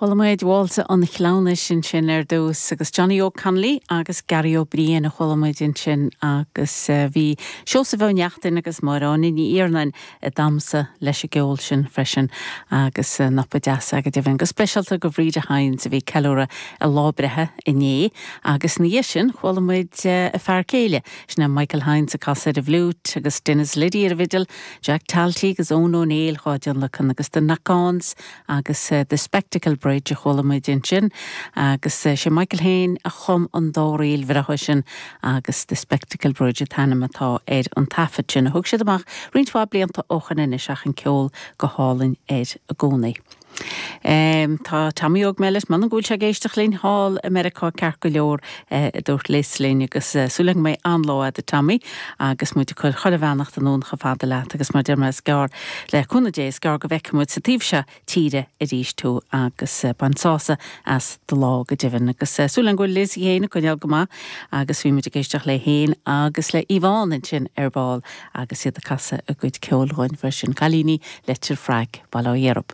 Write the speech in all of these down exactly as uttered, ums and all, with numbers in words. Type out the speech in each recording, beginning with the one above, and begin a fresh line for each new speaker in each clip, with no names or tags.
Chuala muid Válsa an Chleamhnais ansin ar dtús agus Johnny O'Connolly agus Gary Ó Briain a chuala muid ansin agus eh, bhí Seosamh Ó Neachtain agus Máire Áine Ní Iarnáin ag damhsa leis an gceol sin freisin agus eh, nopa deas go deimhin go speisialta do Bhríde Hynes a bhí ceiliúradh a lá breithe inné agus ní sin chuala muid eh, a fear céile sin Michael Hynes ag casadh ar an bhfliúit agus Dennis Liddy ar an bhfidil, Jack Talty agus Eoin Ó Néill dhá dtionlacan agus The Knock-ons agus uh, The Spectacle Bridge a chuala muid ansin agus uh, sé Michael féin a chum an dá ríl bhreátha sin agus The Spectacle Bridge an t-ainm atá ar an taifead sin a thug siad amach roinnt mhaith blianta ó shin anois ach an ceol go hálainn air i gcónaí. Um, tá Tommy Óg Mellett man an bhfuil sé ag éisteacht linn thall i Meiriceá ceart go leor uh, dúirt Liz linn agus uh, súil mé an-lá do Tommy agus muid chur chuile bheannacht anonn chomh fada leat agus mar deir is gearr le cúnamh Dé is gearr go bhfeicfidh muid sa taobh seo tíre arís tú agus uh, bain sásamh as do lá go deimhin agus uh, súil go bhfuil Liz féin ag coinneáil go maith agus bhí muid ag éisteacht léi féin agus le Yvonne ansin ar ball agus iad ag casadh a gcuid ceoil dhúinn freisin cailíní Leitir Fraic Baile Átha Dheirb.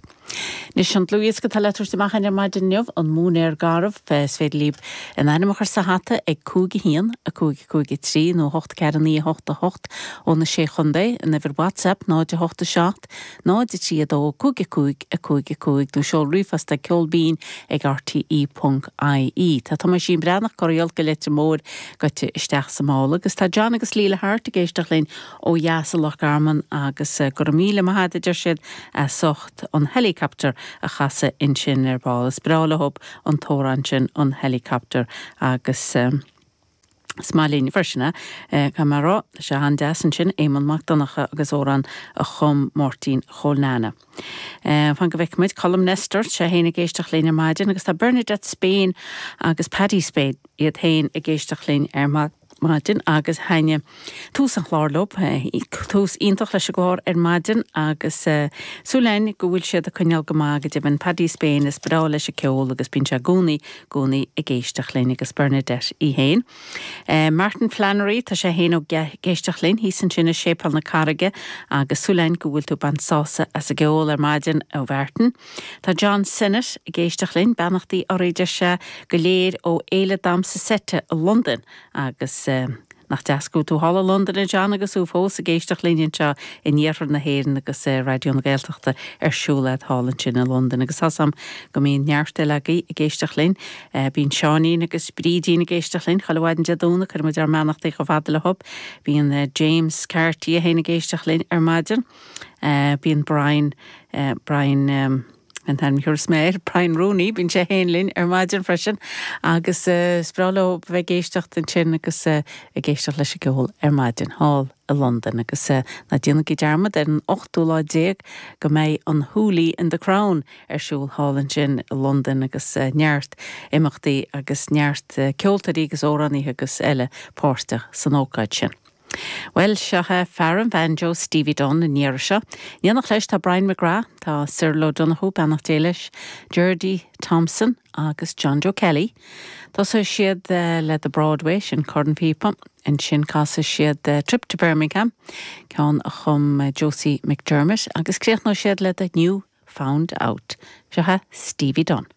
Anois an dlúthdhiosca atá le tabhairt amach ar maidin inniu an Móinéar Garbh is féidir libh bhur n-ainm a chur sa hata ag cúig a haon a cúig cúig trí nó hocht ceathair naoi hocht a hocht ó na sé chontae an uimhir WhatsApp náid a hocht a seacht, náid a trí a dó cúig a cúig a cúig a cúig nó seol ríomhphost ag ceol binn ag RTE.ie. Tá Tomáisín Breathnach corriall go Leitir Móir goite isteach sa mála agus tá John agus Líla Hart ag éisteacht linn ó dheas i Loch Garman agus eh, go raibh míle maith agat a deir siad as ucht an helicopter a chasadh ansin ar ball. Is breá leo an t-amhrán sin an helicopter agus um, Is maith linn freisin é mar rá sé an-deas ansin Éamonn Mac Donncha agus amhrán a chum Máirtín Chóil Nana. Fan go bhfeicfidh muid Colm Nestor sé féin ag éisteacht linn ar maidin agus tá Bernadette Spain agus Paddy Spain iad féin ag éisteacht linn ar maidin agus thaitnigh tús an chláir leo tús iontach leis an gclár ar maidin agus uh, súil againn go bhfuil siad ag coinneáil go maith go deimhin Paddy Spain is breá leis an gceol agus bíonn sé i gcónaí i gcónaí ag éisteacht linn agus Bernadette í féin. Uh, Martin Flannery tá sé féin ag éisteacht linn thíos ansin i Séipéal na Carraige agus súil againn go bhfuil tú ag baint sásamh as an gceol ar maidin ó Mhartin. Tá John Sinnott ag éisteacht linn beannachtaí oraibh sé go léir ó Fhéile Damhsa Seite i Londain agus uh, nach deas go tú thall i Londain a John agus tú fós ag éisteacht linn anseo in iarthar na hÉireann agus uh, Raidió na Gaeltachta ar siúl thall ansin i Londain agus sam go mbíonn neart eile agaibh ag éisteacht linn uh, bíonn Seáinín agus Brídín ag éisteacht linn chuile mhaidin Dé Domhnaigh cuireann muid ár mbeannachtaí chomh fada leo. Bíonn uh, James Carty féin ag éisteacht linn ar maidin. Uh, bíonn Brian uh, Brian um, an tan sméir Brian Rooney bíonn sé féin linn ar maidin freisin agus uh, is breá leo bheith ag éisteacht ansin agus uh, ag éisteacht leis an gceol ar maidin thall i Londain agus uh, ná déanaigí dearmad ar an ochtú lá déag go mbeidh an Hooley in the Crown ar siúl thall ansin i Londain agus uh, neart imeachtaí agus neart uh, ceoltóirí agus amhránaithe agus eile páirteach san ócáid sin. Well seo fear an bhanjo Stevie Dunn an iarraidh seo. Déanach leis tá Brian McGrath, tá Cyril O'Donoghue beannacht Dé leis, Gerdy Thompson agus John Joe Kelly. Tosóidh siad uh, le the Broadway sin cornphíopa ansin casfaidh siad uh, Trip to Birmingham, ceann a chum uh, Josie McDermott agus críochnóidh siad le the New Found Out. Seo Stevie Dunn.